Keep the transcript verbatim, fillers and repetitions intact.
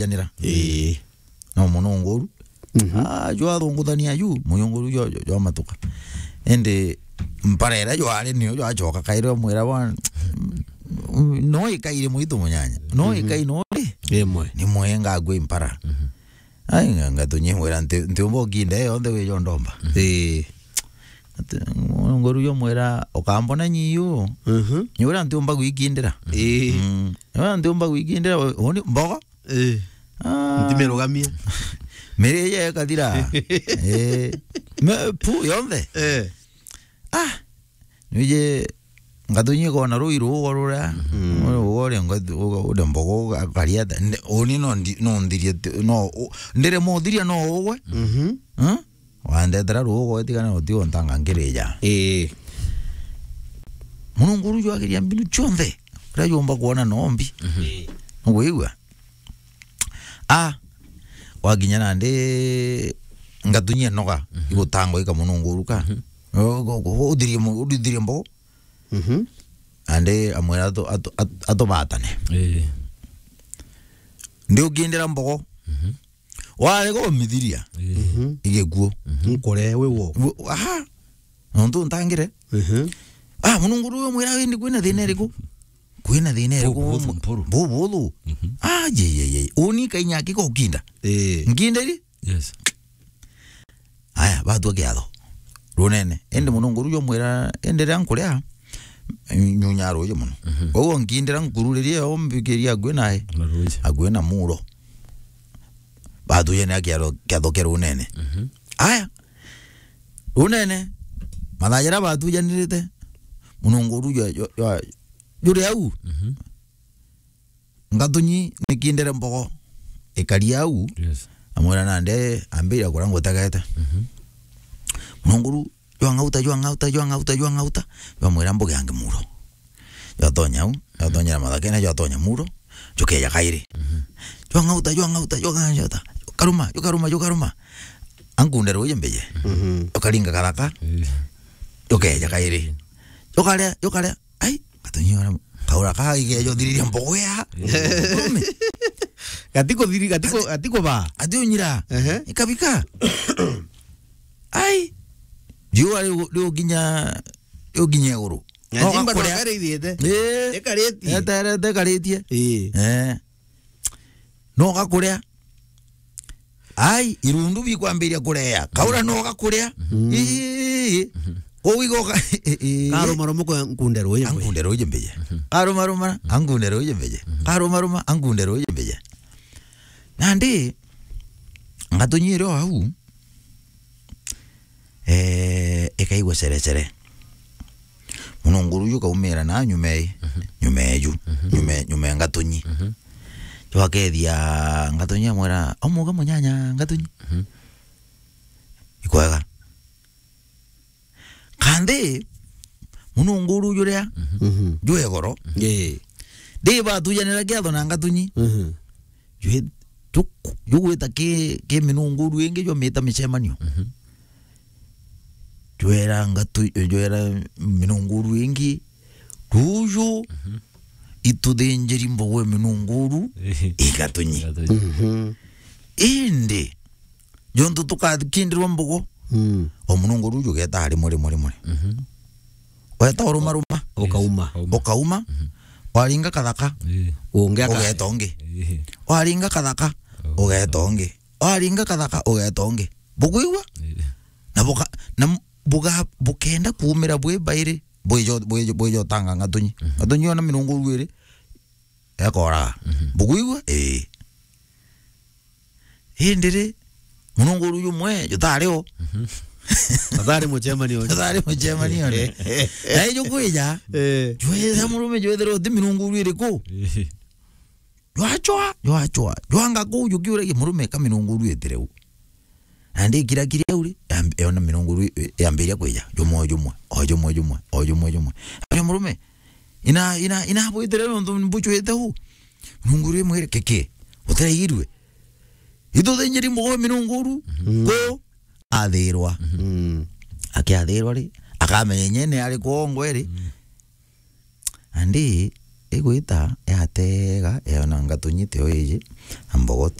janira. Ii. No mununguru. Mhm. Ah, jwathunguthania ju, mununguru jo, jo, jwamatuka. Indi mpara iria jwari niyo jwacoka kairi omwira bwana, "No ikai ri mwitu munyanya. No ikai no ri." Imwe. Ni mwenga gwi mpara. Mhm. Ai, nga-, ngatunyi mwira nti, ntiumba ukinda iyo yonthe wijo ndomba. Ii. Ati, mununguru jo mwira, "Ukambona nyiu." Mhm. Ni wira ntiumba gwikindira. Ii. Mm. Ni wira ntiumba gwikindira, u-, uni mbogo? Ii. Ah. Ntimerugamia. Miri ye kathira. Ii. Me, pu, yonthe. Eh. Ah. Nije ngatunyi kona rui rugo ruria. Mm. Rugo uria ngatu-, uga-, uria mbogo uga-, ukarieta. Nde-, uni no ndi-, no nthirie ti-, no u-, ndire muthiria no ugwe. Mhm. Huh? Wandetera rugo utigana uti untanga nkirija. Ii. Mununguru jwagiria mbinu cionthe. Uria jumba kuona no mbi. Mhm. Ii. Nugwigua? Ah, wakinya nandi ngatunyia noga, mhm, igutangwa ika mununguru ka. Mhm. U-, u-, u-, uthirie mu-, uthirie mbogo. Mhm. Nandi amwira atu-, atu-, atu-, atubatane. Ii. Ndi ukindira mbogo. Mhm. Warega umithiria. Ii. Mhm. Igikuo. Mhm. Nkore we wo. Wo-, aha. Nontu ntangire. Mhm. Ah, mununguru uyu mwira indi kwina thina iriku? Kwina thina iriku? Bubuthu mpuru. Bubuthu. Mhm. Ah, ye, ye, ye. Uni kainya akiko ukinda. Ii. Nkindiri? Yes. Aya, batua kiatho. Runene. Indi mununguru jo mwira, indi ria nkuria, nyunya ruji muno. Mhm. Koguo nkindira nkururirie yo mbikiria akui nae. Na ruji. Akui na muro. Batujania kiatho, kiatho kia runene. Mhm. Aya. Runene. Mathaa jaria batujanirite. Mununguru jo, jo, jo, juri au. Mhm. Ngatunyi nikindire mbogo. Ikari au. Yes. Amwira nande ambira kuria ngutegete. Mhm. Mununguru, jwang'auta, jwang'auta, jwang'auta, jwang'auta. Jwamwira mbuge ange muro. Jwatonya au, jwatonyera mathakene, jwatonya muro. Jukeja kairi. Mhm. Jwang'auta, jwang'auta, jwang'auta. Jukaruma, jukaruma, jukaruma. Ankunde ruji mbije. Mhm. Jukaringa kathaka. Eh. Jukeja kairi. Jukaria, jukaria. Ai, katunyora. Kaura ka igejo thiriria mbogo ya. Eh. Murume. Gatiko thiri, gatiko, gatiko ba. Ati unyira. Ehe. Ikabika. Ai. Jua riu, riu ginya, riu ginya iguru. No gakuria. Ikarithiete. Eh. Ikaritie. Eterete ikaritie. Eh. Eh. No gakuria. Ai, irundu bikwambiria kurea. Kaura no gakuria. Mhm. Ii. Kuu igoka. Karumaruma kwa nkunde ruji mbije. Ankunde ruji mbije. Karumaruma, ankunde ruji mbije. Karumaruma, ankunde ruji mbije. Nandi, ngatunyire o au. Eh, ikaigua cerecere. Mununguru uju ukaumira na nyuma ii, mhm, nyuma eju, mhm, nyuma, nyuma e ngatunyi. Mhm. Jwakethia ngatunyi amwira, "Omuga munyanya ngatunyi." Mhm. Ikwega. Kandi, mununguru juria, mhm, jwe goro. Ii. Ndi batujanira kiatho na ngatunyi. Mhm. Jwe, ju-, jugwita ki, ki minunguru ingi jwamita micemanio. Mhm. Jwera ngatu-, jwera minunguru ingi, ruju, mhm, ituthinjiri mbogo e minunguru, ii, igatunyi. Igatunyi. Mhm. Indi, jontu tukakindirwa mbogo, mm, o mununguru uju ugeta rimwe, rimwe, rimwe. Mhm. Weta urumaruma. Ukauma. Yes, ukauma. Ukauma. Mhm. Waringa kathaka. Ii. Ungi aka- ugeta ungi. Ii. Waringa kathaka, oh, ugeta ungi. Waringa kathaka, ugeta ungi. Bukwigua? Ii. Na buka-, na m-, buga-, bukenda kuumira bwi bairi, bwijo, bwijo, bwijo tanga ngatunyi. Mhm. Ngatunyi ona minunguru iri, ekoraga. Mhm. Bukwigua? Ii. Indi ri, mununguru jumwe, jutari o. Mhm. Jutari mucemanio. Jutari mucemanio ri. Na ijo kwija, eh, jwetha murume jwethira uti minunguru iriku. Eh. Jwachwa, jwachwa, jwanga kuu jukiuragia murume ka minunguru itire u. Na ndikira kiri au ri, yamb-, yona minunguru i-, yambiria kwija, jumwe, jumwe, o jumwe, jumwe, o jumwe, jumwe. Aria murume, ina, ina, ina bwitire nontu mbuchwite u. Minunguru imwire, "Kiki, utiraigirue? Ituthinjiri mbogo minunguru, mm, ku athirwa." Mm. Akiathirwa ri, akamenya inyene ari kwongwe ri. Mm. Andi, igwita yatega, yona ngatunyite o iji, na mbogo